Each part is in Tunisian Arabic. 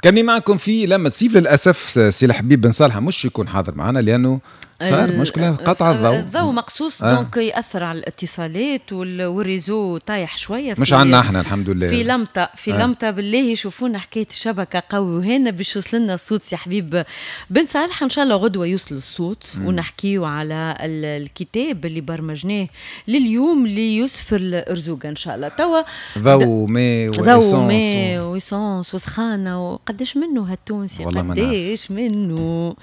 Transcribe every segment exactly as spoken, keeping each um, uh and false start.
كملي معكم في لمة صيف. للاسف سي الحبيب بن صالح مش يكون حاضر معنا لانه صار مشكلة قطع الضوء. الضوء مقصوص آه. donc ياثر على الاتصالات وال réseau طايح شويه. مش عندنا احنا الحمد لله. في لمطه، في آه. لمطه بالله شوفونا حكاية الشبكة قوي وهنا باش يوصل لنا الصوت سي حبيب بن صالح. ان شاء الله غدوه يوصل الصوت ونحكيو على الكتاب اللي برمجناه لليوم ليوسف الارزوقه ان شاء الله. توا ضوء ماء. ضوء ماء و essence وسخانه، وقداش منه هالتونسي، قداش منه،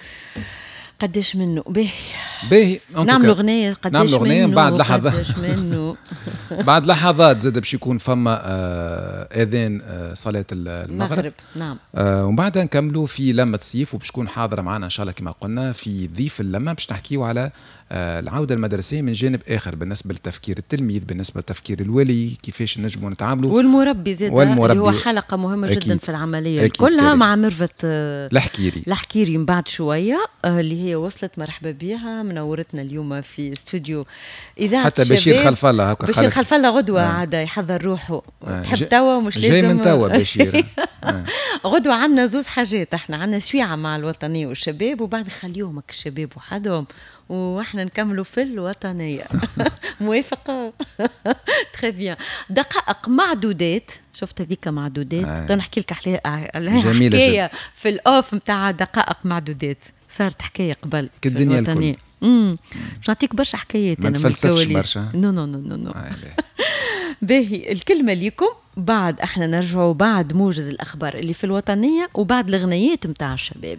قداش منه. باهي. باهي. نعملوا اغنيه. قداش؟ نعملوا اغنيه. بعد لحظات، قداش منه. بعد لحظات زاد باش يكون فما آه اذان آه صلاة المغرب. المغرب نعم. آه ومن بعدها نكملوا في لمه صيف، وباش تكون حاضره معنا ان شاء الله كما قلنا في ضيف اللمه، باش نحكيو على آه العودة المدرسية من جانب اخر، بالنسبة لتفكير التلميذ، بالنسبة لتفكير الولي، كيفاش نجموا نتعاملوا. والمربي زاد، والمربي اللي هو حلقة مهمة أكيد. جدا في العملية كلها مع ميرفت آه، الحكيري. الحكيري من بعد شويه آه، اللي هي وصلت، مرحبا بها، منورتنا اليوم في استوديو اذاعة حتى بشير خلف الله. هكا بشير خلف الله غدوه آه. عاد يحضر روحه آه. تحب توا مش لازم. جاي من توا بشير. آه. غدوه عندنا زوز حاجات، احنا عندنا سويعه مع الوطنية والشباب، وبعد خليهم الشباب وحدهم واحنا نكملوا في الوطنيه. موافقه؟ très bien. دقائق معدودات، شفت هذيك معدودات آه. نحكي لك عليها حكاية في ال off نتاع دقائق معدودات، صارت حكاية قبل. في الدنيا الكل. امم باش نعطيك برشا حكايات. انا ما نتفلسفش برشا. non non non non. باهي، الكلمة ليكم. بعد احنا نرجعوا بعد موجز الاخبار اللي في الوطنية وبعد الغنيات نتاع الشباب.